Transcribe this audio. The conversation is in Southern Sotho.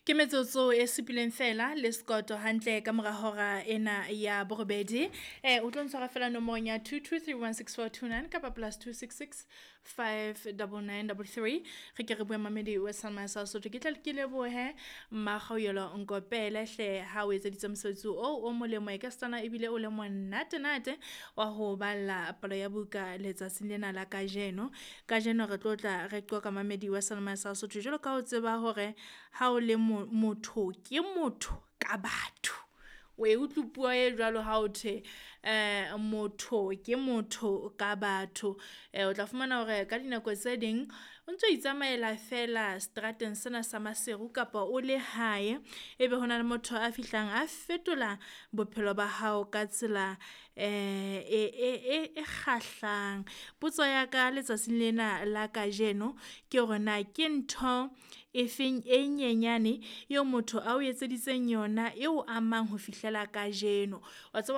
Ke metsotso e supileng feela le sekoto hantle ka mora hora ena ya borobedi. O tlo ntshwara feela nomorong ya 22316429 kapa +266 59933. Re ke re bue mamedi wa Salma sa Sotho. Ke tla ke lebohe Mmakgaoyelo Nkopele hle ha o etseditse mosebetsi oo o molemo e ka setsana ebile o le monatenate wa ho balla palo ya buka letsatsing lena la kajeno. Kajeno re tlo tla re qoqa mamedi wa Salma sa Sotho jwalo ka o tseba hore ha o le motho ke motho ka batho. O e utlwe puo e jwalo ha o thwe motho ke motho ka batho. O tla fumana hore ka dinako tse ding o ntso itsamaela feela seterateng sena sa Maseru kapa o le hae, ebe hona le motho a fihlang a fetola bophelo ba hao ka tsela e kgahlang. Potso ya ka letsatsing lena la kajeno ke hore na ke ntho efeng e nyenyane eo motho ao etseditseng yona eo amang ho fihlela kajeno. Wa tseba.